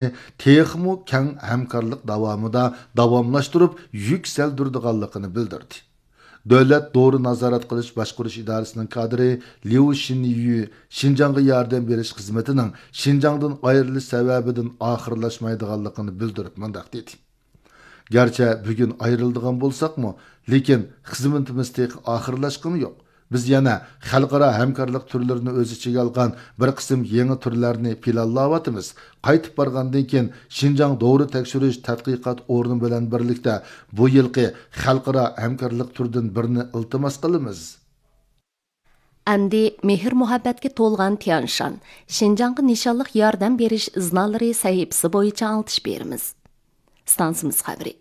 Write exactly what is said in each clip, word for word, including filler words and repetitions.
تېخىمۇ كەڭ ھەمكارلىق داۋامىدا داۋاملاشتۇرۇپ يۈكسەلدۈرىدىغانلىقىنى بىلدۈردى. دۆلەت دورا نازارەت قىلىش باشقۇرۇش ئىدارىسىنىڭ كادىرى ليۇ شىنيۈ شىنجاڭغا ياردەم بېرىش خىزمىتىنىڭ شىنجاڭدىن ئايرىلىش سەۋەبىدىن ئاخىرلاشمايدىغانلىقىنى بىلدۈرۈپ مۇنداق دېدى: گەرچە بۈگۈن ئايرىلىدىغان بولساقمۇ، لېكىن خىزمىتىمىز تېخى ئاخىرلاشقىنى يوق. بىز يەنە خەلقئارا ھەمكارلىق تۈرلىرىنى ئۆز ئىچىگە ئالغان بىر قىسىم يېڭى تۈرلەرنى پىلانلاۋاتىمىز. قايتىپ بارغاندىن كېيىن، شىنجاڭ دورا تەكشۈرۈش تەتقىقات ئورنى بىلەن بىرلىكتە بۇ يىلقى خەلقئارا ھەمكارلىق تۈرىدىن بىرنى ئىلتىماس قىلىمىز. ئەمدى مېھىر-مۇھەببەتكە تولغان تيانشان، شىنجاڭغا نىشانلىق ياردەم بېرىش ئىزنالىرى سەھىپىسى بويىچە ئاڭلىتىش بېرىمىز. ئىستانسىمىز خەۋىرى.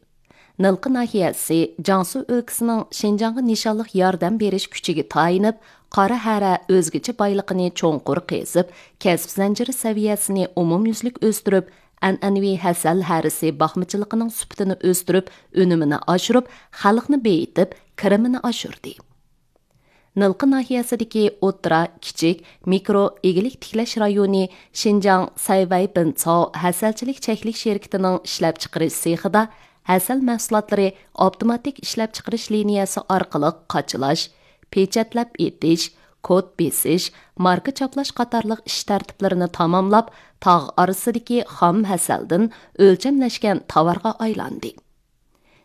نىلقا ناھىيەسى جياڭسۇ ئۆلكىسىنىڭ شىنجاڭغا نىشانلىق ياردەم بېرىش كۈچىگە تايىنىپ، قارا ھەرە ئۆزگىچە بايلىقىنى چوڭقۇر قېزىپ، كەسىپ زەنجىرى سەۋىيەسىنى ئومۇميۈزلۈك ئۆستۈرۈپ، ئەنئەنىۋى ھەسەل ھەرىسى باقمىچىلىقىنىڭ سۈپىتىنى ئۆستۈرۈپ، ئۈنۈمىنى ئاشۇرۇپ، خەلقنى بېيىتىپ، كىرىمىنى ئاشۇردى. نىلقا ناھىيەسىدىكى ئوتتۇرا، كىچىك، مىكرو ئىگىلىك تىكلەش رايونى شىنجاڭ سەيۋەي بىنچاۋ ھەسەلچىلىك چەكلىك شىركىتىنىڭ ئىشلەپچىقىرىش سېخىدا ھەسەل مەھسۇلاتلىرى ئاپتوماتىك ئىشلەپچىقىرىش لىنىيەسى ئارقىلىق قاچىلاش، پېچەتلەپ ئېتىش، كود بېسىش، ماركا چاپلاش قاتارلىق ئىش تەرتىپلىرىنى تاماملاپ، تاغ ئارىسىدىكى خام ھەسەلدىن ئۆلچەملەشكەن تاۋارغا ئايلاندى.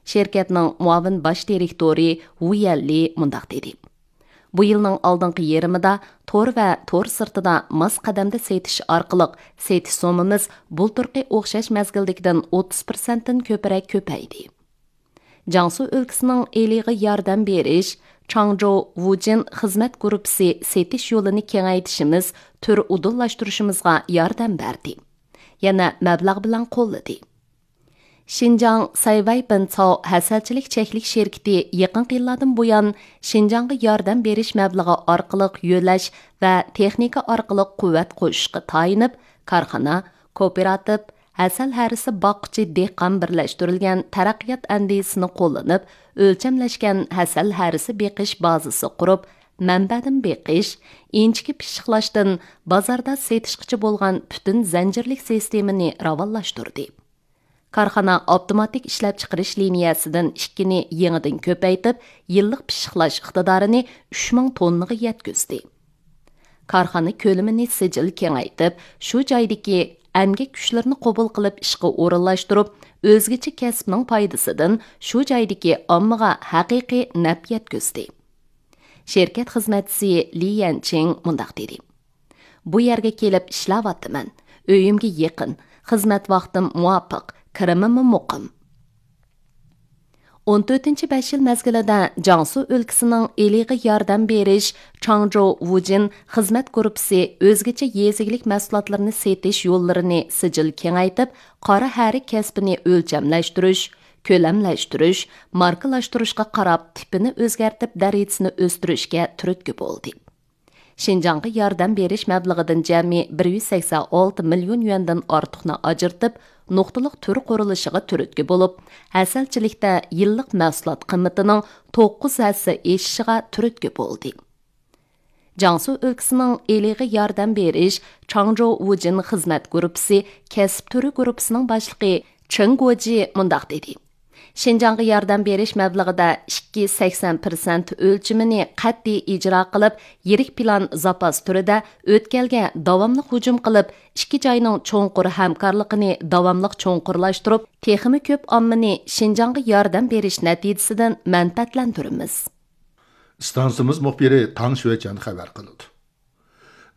شىركەتنىڭ مۇئاۋىن باش دىرېكتورى ۋۇ يەنلى مۇنداق دېدى: بۇ يىلنىڭ ئالدىنقى يېرىمىدا تور ۋە تور سىرتىدا ماس قەدەمدە سېتىش ئارقىلىق سېتىش سوممىمىز بۇلتۇرقى ئوخشاش مەزگىلدىكىدىن ئوتتۇز پىرسەنتتىن كۆپرەك كۆپەيدى. جياڭسۇ ئۆلكىسىنىڭ ئېلىغا ياردەم بېرىش چاڭجو ۋۇجىن خىزمەت گۇرۇپپىسى سېتىش يولىنى كېڭەيتىشىمىز تۈر ئۇدۇللاشتۇرۇشىمىزغا ياردەم بەردى. يەنە مەبلەغ بىلەن قوللىدى. شىنجاڭ سەيۋەي بىنچاۋ ھەسەلچىلىك چەكلىك شىركىتى يېقىنقى يىللاردىن بۇيان شىنجاڭغا ياردەم بېرىش مەبلىغى ئارقىلىق يۆلەش ۋە تېخنىكا ئارقىلىق قۇۋۋەت قوشۇشقا تايىنىپ، كارخانا، كوپىراتىپ، ھەسەل ھەرىسى باققۇچى دېھقان بىرلەشتۈرۈلگەن تەرەققىيات ئەندىزىسىنى قوللىنىپ، ئۆلچەملەشكەن ھەسەل ھەرىسى بېقىش بازىسى قۇرۇپ، مەنبەدىن بېقىش، ئىنچىكە پىششىقلاشتىن بازاردا سېتىشقىچە بولغان پۈتۈن زەنجىرلىك سىستېمىنى راۋانلاشتۇردى. كارخانا ئاپتوماتىك ئىشلەپچىقىرىش لىنىيەسىدىن ئىككىنى يېڭىدىن كۆپەيتىپ، يىللىق پىششىقلاش ئىقتىدارىنى ئۈچ مىڭ توننىغا يەتكۈزدى. كارخانا كۆلىمىنى سىجىل كېڭەيتىپ، شۇ جايدىكى ئەمگەك كۈچلىرىنى قوبۇل قىلىپ ئىشقا ئورۇنلاشتۇرۇپ، ئۆزگىچە كەسىپنىڭ پايدىسىدىن شۇ جايدىكى ئاممىغا ھەقىقىي نەپ يەتكۈزدى. شىركەت خىزمەتچىسى لى يەنچىڭ مۇنداق دېدى: بۇ يەرگە كېلىپ ئىشلەۋاتىمەن. ئۆيۈمگە يېقىن، خىزمەت ۋاقتىم مۇۋاپىق، كىرىمىممۇ مۇقىم. ئون تۆتىنچى بەش يىل مەزگىلىدە جياڭسۇ ئۆلكىسىنىڭ ئېلىغا ياردەم بېرىش چاڭجو ۋۇجىن خىزمەت گۇرۇپپىسى ئۆزگىچە يېزا ئىگىلىك مەھسۇلاتلىرىنى سېتىش يوللىرىنى سىجىل كېڭەيتىپ، قارا ھەرە كەسپىنى ئۆلچەملەشتۈرۈش، كۆلەملەشتۈرۈش، ماركىلاشتۇرۇشقا قاراپ تىپىنى ئۆزگەرتىپ دەرىجىسىنى ئۆستۈرۈشكە تۈرتكە بولدى. شىنجاڭغا ياردەم بېرىش مەبلىغىدىن جەمئىي بىر يۈز سەكسەن ئالتە مىليون يۈەندىن ئارتۇقنى ئاجرىتىپ، نۇقتىلىق تۈر قۇرۇلۇشىغا تۈرتكە بولۇپ، ھەسەلچىلىكتە يىللىق مەھسۇلات قىممىتىنىڭ توققۇز ھەسسە ئېشىشىغا تۈرتكە بولدى. جياڭسۇ ئۆلكىسىنىڭ ئېلىغا ياردەم بېرىش چاڭجو ۋۇجىن خىزمەت گۇرۇپپىسى كەسىپ تۈرى گۇرۇپپىسىنىڭ باشلىقى چېڭ گوجى مۇنداق دېدى: شىنجاڭغا ياردەم بېرىش مەبلىغىدە ئىككى سەكسەن پىرسەنت ئۆلچىمىنى قەتئىي ئىجرا قىلىپ، يىرىك پىلان زاپاس تۈرىدە ئۆتكەلگە داۋاملىق ھۇجۇم قىلىپ، ئىككى جاينىڭ چوڭقۇر ھەمكارلىقىنى داۋاملىق چوڭقۇرلاشتۇرۇپ، تېخىمۇ كۆپ ئاممىنى شىنجاڭغا ياردەم بېرىش نەتىجىسىدىن مەنپەئەتلەندۈرىمىز. ئىستانسىمىز مۇخبىرى تاڭ شۈەچيەن خەۋەر قىلىدۇ.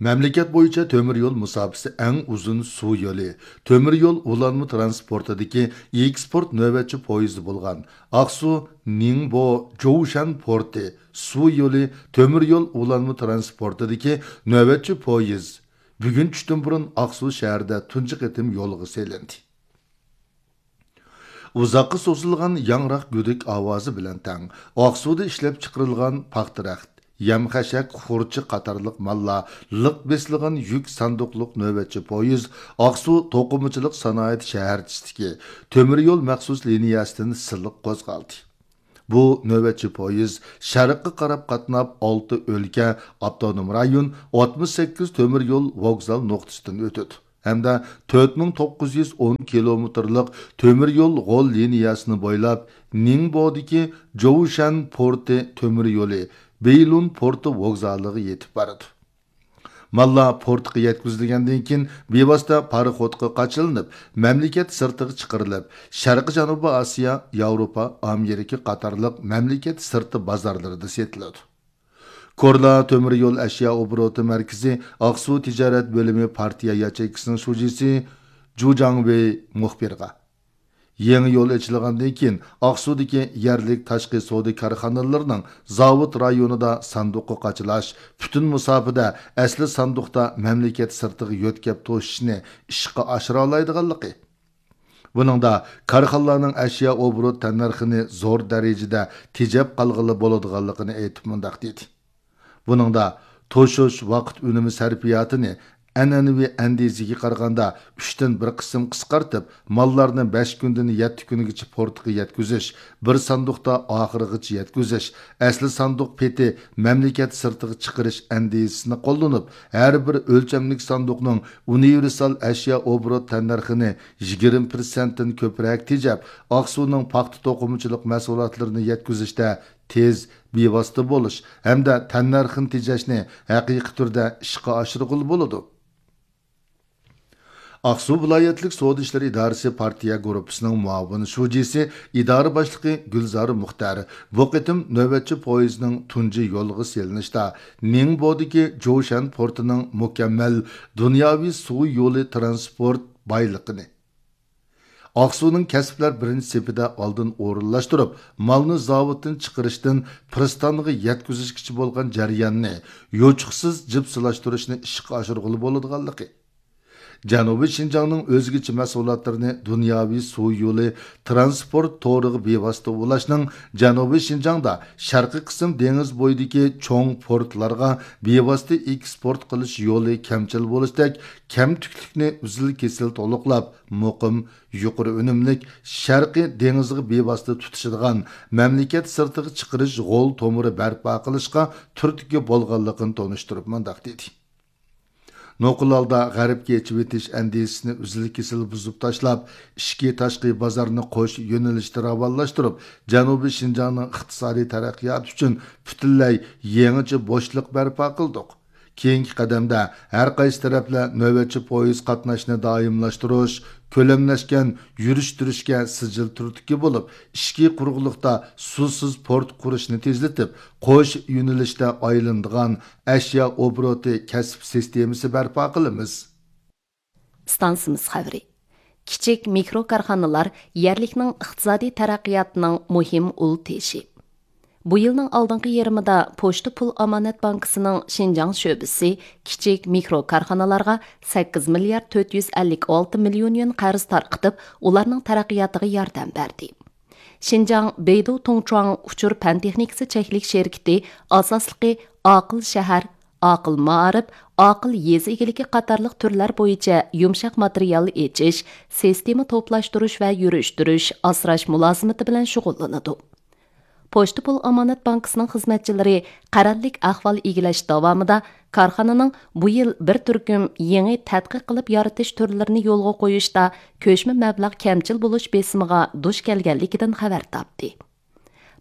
مەملىكەت بويىچە تۆمۈر يول مۇساپىسى ئەڭ ئۇزۇن سۇ يولى، تۆمۈر يول ئۇلانما تىرانسپورتىدىكى ئېكسپورت نۆۋەتچى پويىزى بولغان ئاقسۇ نىڭبو جوۋشەن پورتى سۇ يولى تۆمۈر يول ئۇلانما تىرانسپورتىدىكى نۆۋەتچى پويىز بۈگۈن چۈشتىن بۇرۇن ئاقسۇ شەھىرىدە تۇنجى قېتىم يولغا سېلىندى. ئۇزاققا سوزۇلغان ياڭراق گۈدۈك ئاۋازى بىلەن تەڭ ئاقسۇدا ئىشلەپچىقىرىلغان پاختا رەخت، يەم-خەشەك، خۇرچا قاتارلىق ماللار لىق بېسىلغان يۈك ساندۇقلۇق نۆۋەتچى پويىز ئاقسۇ توقۇمىچىلىق سانائەت شەھەرچىسىدىكى تۆمۈر يول مەخسۇس لىنىيەسىدىن سىلىق قوزغالدى. بۇ نۆۋەتچى پويىز شەرققە قاراپ قاتناپ، ئالتە ئۆلكە، ئاپتونوم رايون، ئاتمىش سەككىز تۆمۈر يول ۋوگزال نۇقتىسىدىن ئۆتىدۇ. ھەمدە تۆت مىڭ توققۇز يۈز ئون كىلومېتىرلىق تۆمۈر يول غول لىنىيەسىنى بويلاپ، نىڭبودىكى جوۋشەن پورتى تۆمۈر يولى بېيلۇن پورتى ۋوگزالىغا يېتىپ بارىدۇ. ماللار پورتقا يەتكۈزۈلگەندىن كېيىن، بىۋاسىتە پاراخوتقا قاچىلىنىپ، مەملىكەت سىرتىغا چىقىرىلىپ، شەرقىي جەنۇبىي ئاسىيا، ياۋروپا، ئامېرىكا قاتارلىق مەملىكەت سىرتى بازارلىرىدا سېتىلىدۇ. كورلا تۆمۈر يول ئەشيا ئوبوروتى مەركىزى ئاقسۇ تىجارەت بۆلۈمى پارتىيە ياچېيكىسىنىڭ شۇجىسى جۇ جاڭۋېي مۇخبىرغا، يېڭى يول ئېچىلغاندىن كېيىن، ئاقسۇدىكى يەرلىك تاشقى سودا كارخانىلىرىنىڭ زاۋۇت رايونىدا ساندۇققا قاچىلاش، پۈتۈن مۇساپىدە ئەسلى ساندۇقتا مەملىكەت سىرتىغا يۆتكەپ توشۇشنى ئىشقا ئاشۇرالايدىغانلىقى، بۇنىڭدا كارخانىلارنىڭ ئەشيا ئوبوروت تەننەرخىنى زور دەرىجىدە تېجەپ قالغىلى بولىدىغانلىقىنى ئېيتىپ مۇنداق دېدى. بۇنىڭدا توشۇش ۋاقىت ئۈنۈمى سەرپىياتىنى ئەنئەنىۋى ئەندىزىگە قارىغاندا ئۈچتىن بىر قىسىم قىسقارتىپ، ماللارنى بەش كۈندىن يەتتە كۈنگىچە پورتقا يەتكۈزۈش، بىر ساندۇقتا ئاخىرغىچە يەتكۈزۈش، ئەسلى ساندۇق پېتى مەملىكەت سىرتىغا چىقىرىش ئەندىزىسىنى قوللىنىپ، ھەر بىر ئۆلچەملىك ساندۇقنىڭ ئۇنىۋېرسال ئەشيا ئوبوروت تەننەرخىنى يىگىرمە پىرسەنتتىن كۆپرەك تېجەپ، ئاقسۇنىڭ پاختا توقۇمىچىلىق مەھسۇلاتلىرىنى يەتكۈزۈشتە تېز، بىۋاسىتە بولۇش ھەمدە تەننەرخنى تېجەشنى ھەقىقىي تۈردە ئىشقا ئاشۇرغىلى بولىدۇ. ئاقسۇ ۋىلايەتلىك سودا ئىشلىرى ئىدارىسى پارتىيە گۇرۇپپىسىنىڭ مۇئاۋىن شۇجىسى، ئىدارە باشلىقى گۈلزارى مۇختەر بۇ قېتىم نۆۋەتچى پويىزنىڭ تۇنجى يولغا سېلىنىشتا نىڭبودىكى جوشەن پورتىنىڭ مۇكەممەل دۇنياۋى سۇ يولى ترانسپورت بايلىقىنى، ئاقسۇنىڭ كەسىپلەر بىرىنچى سېپىدە ئالدىن ئورۇنلاشتۇرۇپ، مالنى زاۋۇتتىن چىقىرىشتىن پىرىستانغا يەتكۈزۈشكىچە بولغان جەرياننى يوچۇقسىز جىپسىلاشتۇرۇشنى ئىشقا ئاشۇرغىلى بولىدىغانلىقى، جەنۇبىي شىنجاڭنىڭ ئۆزگىچە مەھسۇلاتلىرىنى دۇنياۋى سۇ يولى ترانسپورت تورىغا بىۋاسىتە ئۇلاشنىڭ جەنۇبىي شىنجاڭدا شەرقىي قىسىم دېڭىز بويىدىكى چوڭ پورتلارغا بىۋاسىتە ئېكسپورت قىلىش يولى كەمچىل بولۇشتەك كەمتۈكلۈكنى ئۈزۈل-كېسىل تولۇقلاپ، مۇقىم، يۇقىرى ئۈنۈملۈك شەرقىي دېڭىزغا بىۋاسىتە تۇتىشىدىغان مەملىكەت سىرتىغا چىقىرىش غول تومۇرى بەرپا قىلىشقا تۈرتكە بولغانلىقىنى تونۇشتۇرۇپ مۇنداق دېدى. نوقۇل ھالدا غەربكە ئېچىۋېتىش ئەندىزىسىنى ئۈزۈل-كېسىل بۇزۇپ تاشلاپ، ئىچكى تاشقى بازارنى قوش يۆنىلىشتە راۋانلاشتۇرۇپ، جەنۇبىي شىنجاڭنىڭ ئىقتىسادىي تەرەققىياتى ئۈچۈن پۈتۈنلەي يېڭىچە بوشلۇق بەرپا قىلدۇق. كېيىنكى قەدەمدە ھەر قايسى تەرەپلەر نۆۋەتچى پويىز قاتناشنى دائىملاشتۇرۇش، كۆلەملەشكەن يۈرۈشتۈرۈشكە سىجىل تۈرتكە بولۇپ، ئىچكى قۇرۇقلۇقتا سۇسىز پورت قۇرۇشنى تېزلىتىپ، قوش يۆنىلىشتە ئايلىنىدىغان ئەشيا ئوبوروتى كەسىپ سىستېمىسى بەرپا قىلىمىز. ئىستانسىمىز خەۋىرى. كىچىك مىكرو كارخانىلار يەرلىكنىڭ ئىقتىسادىي تەرەققىياتىنىڭ مۇھىم ئۇل تېشى. بۇ يىلنىڭ ئالدىنقى يېرىمىدا پوچتا پۇل ئامانەت بانكىسىنىڭ شىنجاڭ شۆبىسى كىچىك مىكرو كارخانىلارغا سەككىز مىليارد تۆت يۈز ئەللىك ئالتە مىليون يۈەن قەرز تارقىتىپ، ئۇلارنىڭ تەرەققىياتىغا ياردەم بەردى. شىنجاڭ بېيدۇ تۇڭچۇاڭ ئۇچۇر پەن تېخنىكىسى چەكلىك شىركىتى ئاساسلىقى ئاقىل شەھەر، ئاقىل مائارىپ، ئاقىل يېزا ئىگىلىكى قاتارلىق تۈرلەر بويىچە يۇمشاق ماتېرىيال ئېچىش، سىستېما توپلاشتۇرۇش ۋە يۈرۈشتۈرۈش، ئاسراش مۇلازىمىتى بىلەن شۇغۇللىنىدۇ. پوچتا پۇل ئامانەت بانكىسىنىڭ خىزمەتچىلىرى قەرەللىك ئەھۋال ئىگىلەش داۋامىدا كارخانىنىڭ بۇ يىل بىر تۈركۈم يېڭى تەتقىق قىلىپ يارىتىش تۈرلىرىنى يولغا قويۇشتا كۆچمە مەبلەغ كەمچىل بولۇش بېسىمىغا دۇچ كەلگەنلىكىدىن خەۋەر تاپتى.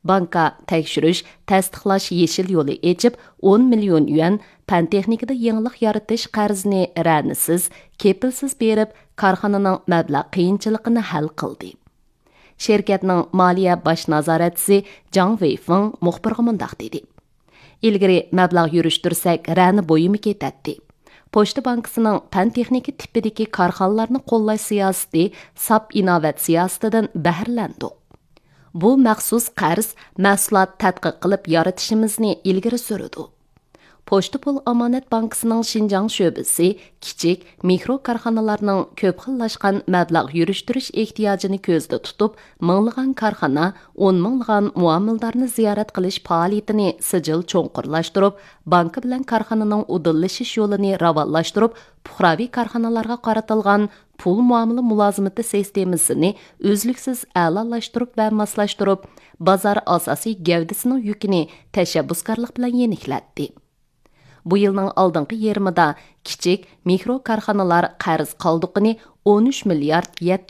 بانكا تەكشۈرۈش، تەستىقلاش يېشىل يولى ئېچىپ، ئون مىليون يۈەن پەن تېخنىكىدا يېڭىلىق يارىتىش قەرزىنى رەنىسىز، كېپىلسىز بېرىپ، كارخانىنىڭ مەبلەغ قىيىنچىلىقىنى ھەل قىلدى. شىركەتنىڭ مالىيە باش نازارەتچىسى جاڭ ۋېيفېڭ مۇخبىرغا مۇنداق دېدى: ئىلگىرى مەبلەغ يۈرۈشتۈرسەك، رەنە بويىمۇ كېتەتتى. پوچتا بانكىسىنىڭ پەن تېخنىكا تىپىدىكى كارخانىلارنى قوللاش سىياسىتى ساپ ئىناۋەت سىياسىتىدىن بەھرىلەندۇق. بۇ مەخسۇس قەرز مەھسۇلات تەتقىق قىلىپ يارىتىشىمىزنى ئىلگىرى سۈرىدۇ. پوچتا پۇل ئامانەت بانكىسىنىڭ شىنجاڭ شۆبىسى كىچىك، مىكرو كارخانىلارنىڭ كۆپ خىللاشقان مەبلەغ يۈرۈشتۈرۈش ئېھتىياجىنى كۆزدە تۇتۇپ، مىڭلىغان كارخانا، ئون مىڭلىغان مۇئامىلىدارنى زىيارەت قىلىش پائالىيىتىنى سىجىل چوڭقۇرلاشتۇرۇپ، بانكا بىلەن كارخانىنىڭ ئۇدۇللىشىش يولىنى راۋانلاشتۇرۇپ، پۇقراۋى كارخانىلارغا قارىتىلغان پۇل مۇئامىلە مۇلازىمىتى سىستېمىسىنى ئۈزلۈكسىز ئەلالاشتۇرۇپ ۋە ماسلاشتۇرۇپ، بازار ئاساسىي گەۋدىسىنىڭ يۈكىنى تەشەببۇسكارلىق بىلەن يېنىكلەتتى. بۇ يىلنىڭ ئالدىنقى يېرىمىدا كىچىك، مىكرو كارخانىلار قەرز قالدۇقىنى ئون ئۈچ مىليارد يەتتە